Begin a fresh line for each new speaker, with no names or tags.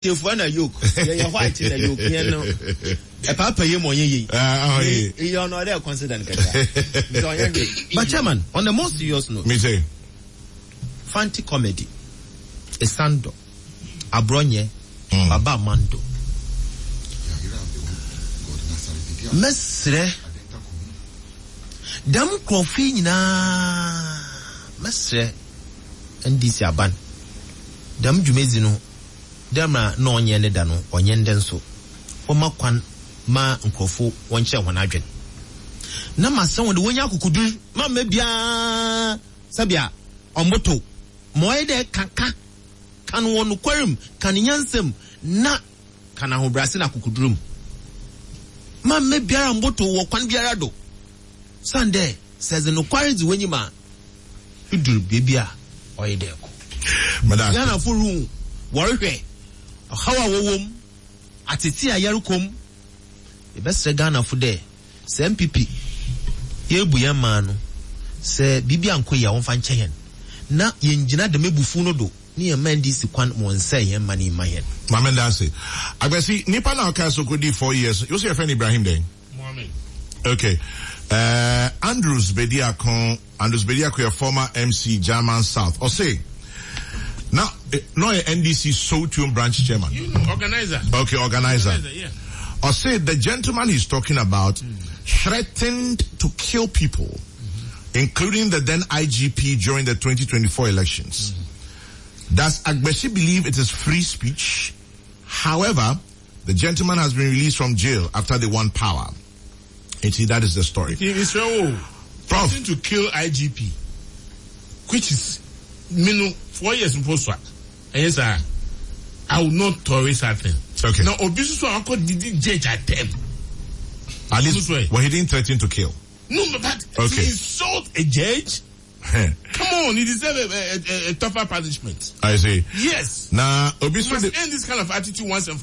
Tefua na yoke yɛyɛ white na yoke yɛn no ɛpaapa yɛ mu ɔnyɛ yie iye ɔno ɔdɛ consider no kakra nti ɔnyɛ hwee. But chairman, on a more serious note,
Me say.
Fanti comedy, Esando, Abrɔnyɛ, Baba Amando, mɛsrɛ dɛm nkorɔfo yi nyinaa mɛsrɛ NDC aban dɛm dwumadzi no Dɛ mbrɛ nna ɔnnyɛ ne da no, ɔnnyɛ ndɛ so. Wɔma kwan ma nkorɔfo wɔnkyerɛ hɔn adwen. Na maserɛ hɔn dɛ wonnya akokodur ma mma biara sɛbea ɔmmbotow. Ma ɔyɛ dɛ ka ka, ka no wɔ nokwar mu, ka no nyansa mu, na ka no ahobrɛase na akokodur mu. Ma mma biara mmbotow wɔ kwan biara do, osiandɛ sɛ edze nokwar dzi w'enyim a, Idur beebi a ɔyɛ dɛ kɔ. Ghanafo ruhu, wɔrohwɛ ɔhaw a wɔwɔ mu, atsetsee a yɛrokɔ mu. Yɛbɛserɛ Ghanafo dɛ sɛ NPP yeebu hɛn man no, sɛ biribi annkɔ yie a wɔmfa nkyɛ hɛn na yenngyina dɛm ebufuw no do na yɛmma NDC kwan ma wɔnnsɛɛ hɛn man yi mma hɛn.
Maame ndaase. Agbasi, nipa na ɔkaa sɛ ɔkɔdii 4 years, wo sɛ yɛfrɛ no Ibrahim dɛn?
Mohammed.
Okay. Andrews Bediako, Andrews Bediako yɛ former MC German South. Ɔse, na ɔyɛ NDC Sowutuom branch chairman.
You know, organizer.
Okay, organizer.
Organizer, yeah.
Ɔse, the gentleman he's talking about threatened to kill people, including the then IGP during the 2024 elections. Does Agbesi believe it is free speech? However, the gentleman has been released from jail after they won power. You see, that is the story.
Israel,
Prof.
threatened to kill IGP, which is me no 4 years mpo so a ɛyɛ saa, I will not tolerate that thing.
Okay.
Na obi soso akɔ didi judge atɛm.
At least,
This way.
Well, he didn't threaten to kill.
No, but to insult a judge. Come on, he deserve a tougher punishment.
I see.
Yes.
Now, Obi
We
so
must
the,
end this kind of attitude once and for